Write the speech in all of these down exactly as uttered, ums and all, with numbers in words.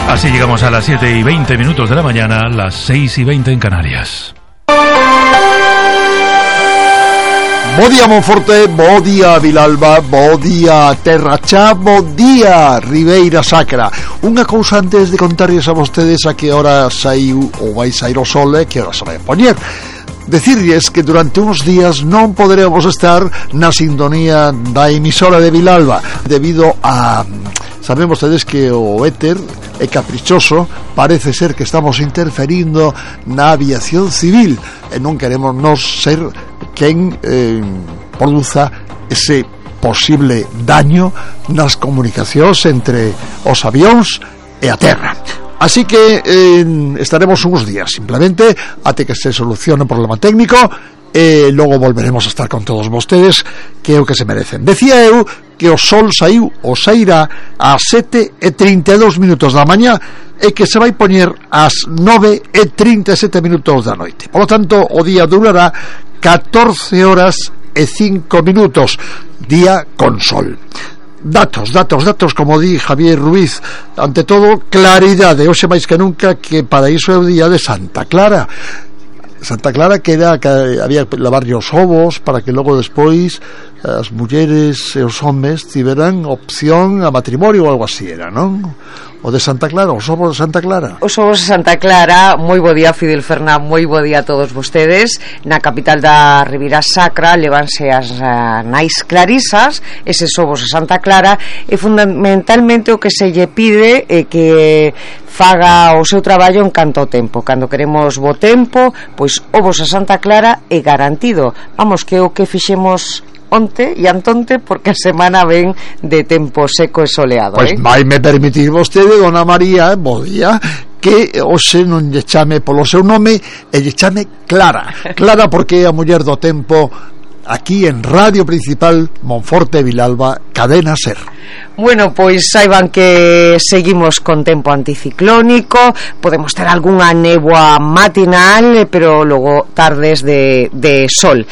Así llegamos a las siete y veinte minutos de la mañana, las seis y veinte en Canarias. Bo día Monforte, bo día Vilalba, bo día Terra Cha, bo día Ribeira Sacra. Unha cousa antes de contarles a vostedes a que hora saiu ou vai sair o sol e que hora se vai poñer. Decirles que durante uns días non poderemos estar na sintonía da emisora de Vilalba debido a... Saben vostedes que o éter é caprichoso, parece ser que estamos interferindo na aviación civil e non queremos nos ser quen eh, produza ese posible daño nas comunicacións entre os avións e a terra. Así que eh, estaremos uns días simplemente até que se solucione o problema técnico e logo volveremos a estar con todos vostedes, que é o que se merecen. Decía eu que o sol saiu ou sairá ás sete e trinta e dous minutos da mañá e que se vai poñer ás nove e trinta e sete minutos da noite. Por lo tanto, o día durará catorce horas e cinco minutos, día con sol. Datos, datos, datos, como di Javier Ruiz. Ante todo, claridade, hoxe máis que nunca, que para iso é o día de Santa Clara. Santa Clara, que era que había que lavarlle os ovos para que logo despois as mulleres e os homes tiveran opción a matrimonio ou algo así era, non? O de Santa Clara, os ovos de Santa Clara. Os ovos de Santa Clara, moi bo día Fidel Fernández, moi bo día a todos vostedes. Na capital da Ribeira Sacra levanse as uh, nais clarisas, eses ovos de Santa Clara, e fundamentalmente o que se lle pide é que faga o seu traballo en canto ao tempo. Cando queremos bo tempo, pois ovos a Santa Clara é garantido. Vamos, que o que fixemos onte e antonte, porque a semana ven de tempo seco e soleado. Pois eh? vai me permitir vostede, dona María, bo día, que hoxe non lle chame polo seu nome e lle chame Clara. Clara porque é a muller do tempo aquí en Radio Principal Monforte Vilalba, Cadena Ser. Bueno, pois saiban que seguimos con tempo anticiclónico, podemos ter algunha néboa matinal, pero logo tardes de, de sol.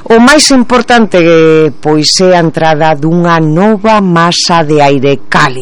O máis importante pois é a entrada dunha nova masa de aire cálido.